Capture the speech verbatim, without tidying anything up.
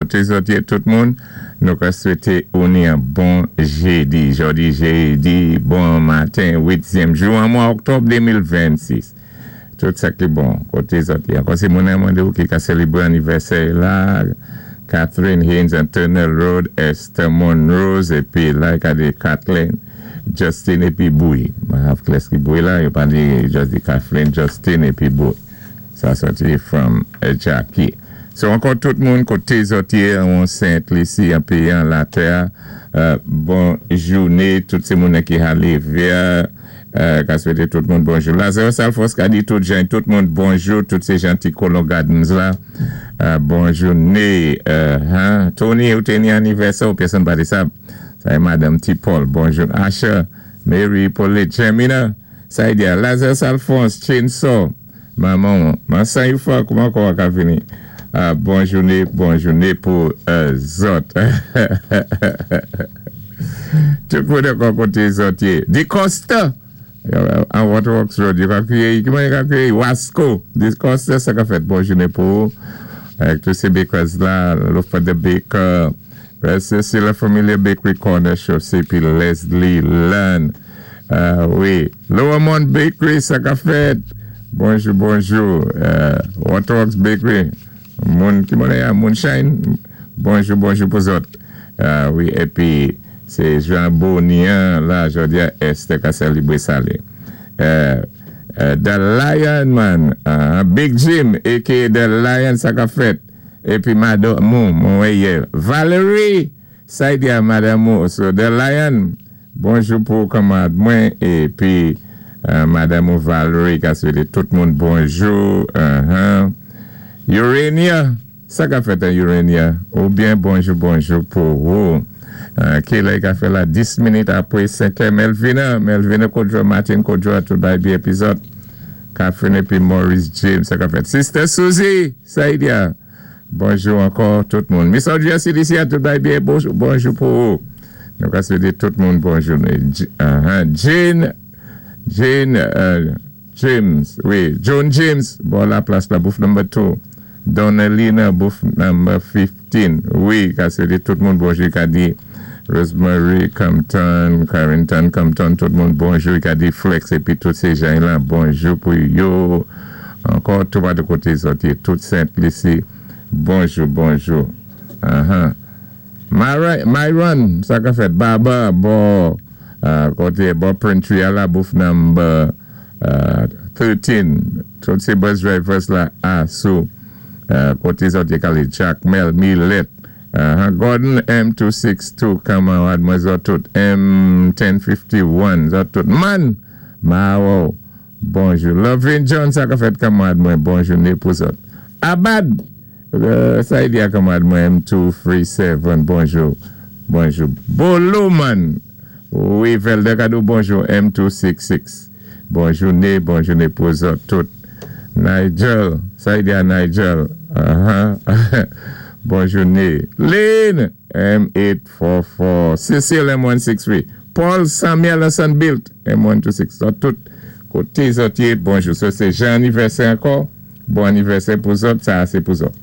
Koté zòt yé tout moun, nou ka swété ou ni an bon jédi. Jòdi jédi, bon maten, uityèm jou an mwa òktòb de mil vennsis. Tout sa ki bon, koté zòt yé. Ankò sé moun an mandé ou ki ka sélébwé anivèsè la, Catherine Haynes and Turner Road, Esther Monrose, épi la, ka di Kathleen, Justin épi Boui. Mwen hav kles ki Boui la, yo pa di just di Kathleen, Justin épi Boui. Sa soti from Jackie. So ankò tout moun koté zòt yé an Sent Lisi, an péyi an latè, bon jouné, tout sé moun ki ha lévé, ka swété tout moun bonjou. Lazarus Alphonse ka di tout jan, tout moun bonjou, tout sé jan ti Colon Gardens la, bon jouné. Tony, ou té ni anivèsè, ou pèsonn pa di sa, sa é Madame T. Paul, bonjou. Asha, Mary, Paulette, Jemina, sa y di a, Lazarus Alphonse, Chainsaw, maman, man san yu fwa, kouman kwa ka vini? Bon jouné, bon jouné pou zòt. Tout moun ankò koté zòt yé. Di Costa, an Waterworks Road, yo ka kwiyé, ki man yo ka kwiyé? Wasco. Di Costa, sa ka fèt bon jouné pou. Ak tout sé bakers la, Lofa the Baker, c'est la Familia Bakery Corner Shop, c'est puis Leslie Lunn. Wi, Lower Mount Bakery, sa ka fèt. Bonjou, bonjou. Waterworks Bakery. Moun, ki moun ya, Moonshine, bonjou, bonjou pou zòt. Wi, épi, sé Jean Bonien, la, jòdi a, Esther ka sélébwé sa lé. The Lion Man, Big Jim, A K A. The Lion, sa ka fèt. Épi, Mado, moun, moun wèyé. Valerie, sa y di a Madame Mou, so The Lion, bonjou pou kanmarad mwen, épi, Madame ou Valerie, ka swété tout moun bonjou, uh-huh. Urania, sa ka fèt an Urania, ou byen bonjou bonjou pou ou. Ki lè ka fè la dis minit apwé senk è, Melvina, Melvina Kodjo, Martin Kodjo, tout bay bi epizòd. Catherine épi Maurice James, sa ka fèt. Sister Suzy, sa y di a. Bonjou ankò tout moun. Miss Audrey C D C a tout bay bi bonjou, bonjou pou ou. Nou ka swété tout moun bonjou. Jane, Jane, James, wi, John James, bon la plas la, booth number two. Donalina, booth number fifteen. Wi, ka swété tout moun bonjou, ka di Rosemary Compton, Carrington Compton, tout moun bonjou, ka di Flex, épi tout sé jan la, bonjou pou yo. Ankò, tout pa de koté zòt yé, tout Sent Lisi, bonjou, bonjou. Uh-huh. Myron, sa ka fèt, Baba, bon, koté, bon Printry a la, booth number thirteen. Tout sé bus drivers la, a, sou, koté zòt yé kali Jack, Mel, Millet, Gordon M two sixty-two, kanmarad mwen zòt tout, M ten fifty-one, zòt tout, Man, Mawo, bonjou. Lovin John, sa ka fèt kanmarad mwen, bonjou, né pou zòt. Abad, sa y di a kanmarad mwen, M two thirty-seven, bonjou, bonjou. Bolo man, wi, Velde Kado, bonjou, M two sixty-six, bonjou, né, bonjou, né pou zòt tout. Nigel, sa y di a Nigel, bonjou, né. Lynn, M eight forty-four, Cecile M one sixty-three, Paul Samuel Sunbuilt, M one twenty-six, zòt tout, koté zòt yé, bonjou. So sé jan anivèsè ankò, bon anivèsè pou zòt, sa sé pou zòt.